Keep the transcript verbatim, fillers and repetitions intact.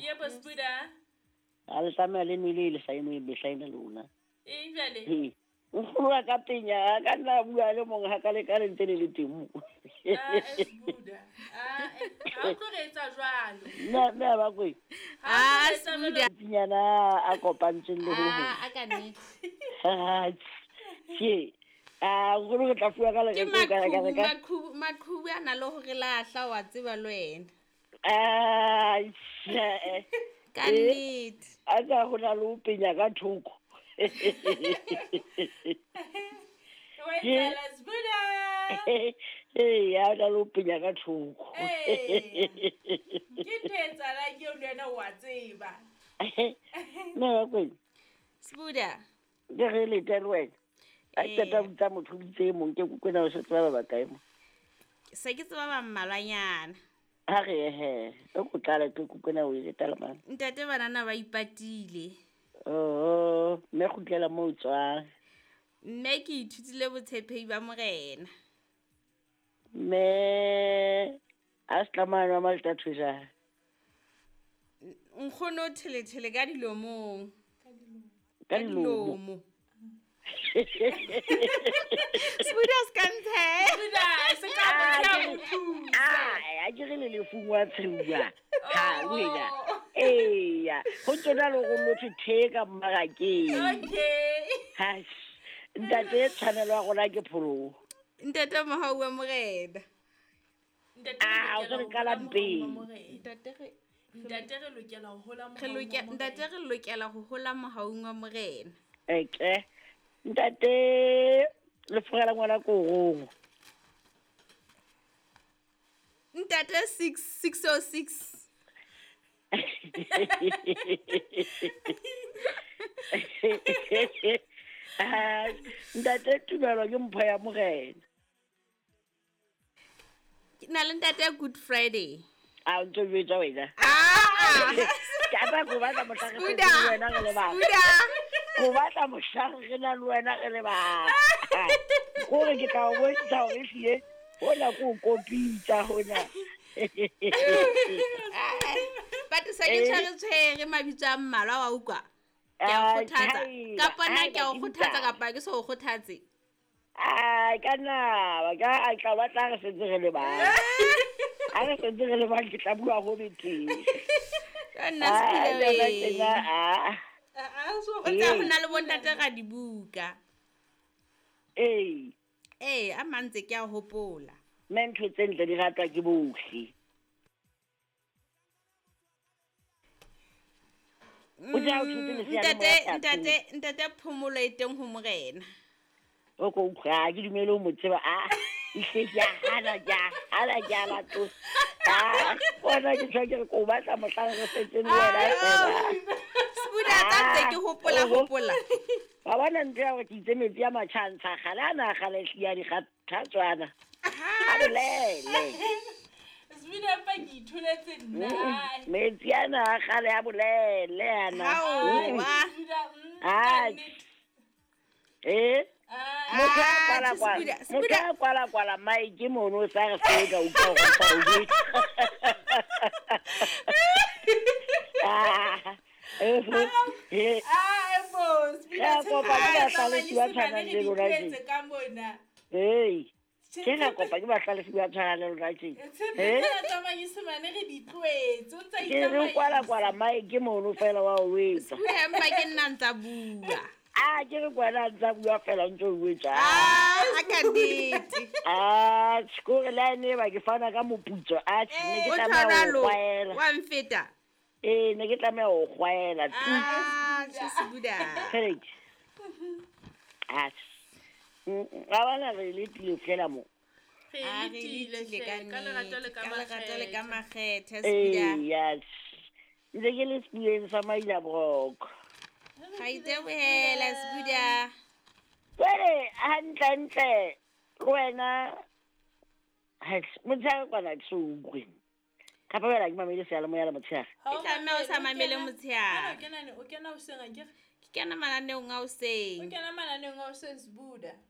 Yebo Sbuda. A le tlameha le nwele le sa enwe mehla ena lona. Eng jwale? He. Nkgono wa ka penya a ka nna a bua le mong ha ka le ka le ntse le le teng mo. Ah, Sbuda. Ah, eh, ha o tlo re etsa jwalo. Mme mme a ba kwe. Ha o Ah, tlo re etsa jwalo. Sbuda. Tsinyana a kopantsweng le ho hong. Ah, a ka nnete. Ah, tjhe. Ah, nkgono re tla fuwa ka Ke lereko ka ka maqhubu, ka. maqhubu, maqhubu a na le hore lahla wa tseba le wena. Ah, tjhe. Ka Eh. nnete. A tsa ho na le ho penya ka thoko. Wa etsahala Sbuda. Ee, ya na le ho penya ka thoko. Ee. Ke ntho e etsahalang eo le wena o a tseba. Mme wa kwena, Sbuda. ke re lete le wena. A Ee. qeta ho bitsa motho o bitse e mong, ke kwena o se tseba ba bakae mo. Se ke tseba ba mmalwanyana. Ha re ye he, e ko tlala ke kwena o e leta le mang. Ntate banana ba ipatile. Oh, mme kgutlela moo o tswang. Mme ke ithutile botshepehi ba morena. Mme a se tlamahane wa Maltatho jang? Nkgono o thelethele ka dilomong. Ka dilomo. Dilomo. Sbuda se ka ntshe. Sbuda, se ka Ah, motho a ke- mo thusa. Ah, a ke re le lefung wa tsheua. Ha, wena. Oh. Eya, ho tsona le hore motho the ka mmarakeng. Okay. Ha, ntate tshwanelo ya rona ke pholoho. Ntate mohau wa morena. Ntate re Ah, o lokela se re ho qala hola mohaung wa mpeng. morena. Ntate re Ntate re lokela ho hola re mohaung wa lokela morena. ntate re lokela ho hola mohaung wa morena. Eke. Ntate le fogela ngwana korong. Ntate six six oh six. Ah, ntate tumelo ke mpho ya morena. Ke na le ntate Good Friday. A o ntso jwetsa wena. Ah! Ke a tla ko batla mohlang re Sbuda. setse le wena re le bang. Sbuda. Ko batla mohlang re na le wena re le bang. Kore ke tla o bontsha hore ehlile hona ke o kopitsa hona. But se ke Eh. tshwere tshwere mabitso a mmalwa wa utlwa. Ke a o Ah, kgothatsa. haeba, Kapa nna haeba ke a o ke kgothatsa utlwa. kapa ke so o kgothatse. Ai, ka nna, ka a tla batla re sentse re le bang. Ha re sentse re le bang ke tla bua ho betere. Ka nna Ah, Sbuda taba wee. tjena, ah. Ah, ah, so O tseba Ee. ho na le bontate ra dibuka. Ee, Ee, a mang ntse ke a hopola. mme ntho tse ntle di ratwa ke bohle. O tla o thotse Mm, lesea le Ntate moya sa ntate ntate phomolo e teng ho morena. O ko utlwa, ha ke dumele ho mo tseba. Ah, ehlile ke a hana, ke a hana, ke a latola. Ah, bona ke tjho ke re ko batla mohlang re setseng le wena fela. Sbuda tsa ntse ke hopola Ah, oho. hopola. Wa bona ntho ya hore ke itse metsi a matjha a ntsha kgale, ana a kgale ehlile a dikgathatswana. A bolele. Sbuda mpa ke itholetse nna. Mm, Metsi ana a kgale a bolele ana. Hao, Mm. wa. Sbuda, mm, Ah, ka nnete. Eh? Ah, Motho a Ah, kwala kwala. Sbuda, Motho Sbuda. a kwala kwala mike mono o sa re se ka utlwa hore o sa o jwetsa. Ah. Eh, eh, ah, bo, Sbuda, Re a kopa ke tshepe tsa bahlalefi ba manyesemane tshwanang re le di lona tlohetse tje. ka mona. Hey, Tshepe- ke ra kopa ke bahlalefi ba tshwanang le lona tje. Tshepe Eh? tsena tsa manyesemane re di tlohetse, o ntsa Ke re itsamaisa. kwala kwala mike mono fela wa o etsa. Sbuda empa ke nna ntsa bua. Ah, ke re kwala ntsa bua fela o ntso o etsa. Ah, a ka nnete. Ah, kore le ha ene ba ke fana ka moputso. Ah, ne ke O tlameha ho tshwaralo kgwaela. wa mfeta. Ee, ne ke tlameha ho kgwaela. Ah, tjhe Sbuda. Tjhelete. Ah. Mm, a bona re letile fela mo. Re Ah, re letile letile hle, ka ka lerato le nnete, ka ka lerato le ka makgethe. makgethe Sbuda. Ee, yes. Ntse ke le sepuleng sa Maila Broko. Ga itebohela Sbuda. Jwale hantlentle le wena hai, motshehare kwana ke so utlwe. Kapa wena ke mamele seyalemoya le motshehare. Ha E tlameha o sa mamele, mamele o kena- motshehare. Hana o kena ne- o kena hoseng akere? Ke kena mananeong a O hoseng. kena mananeong a hoseng Sbuda.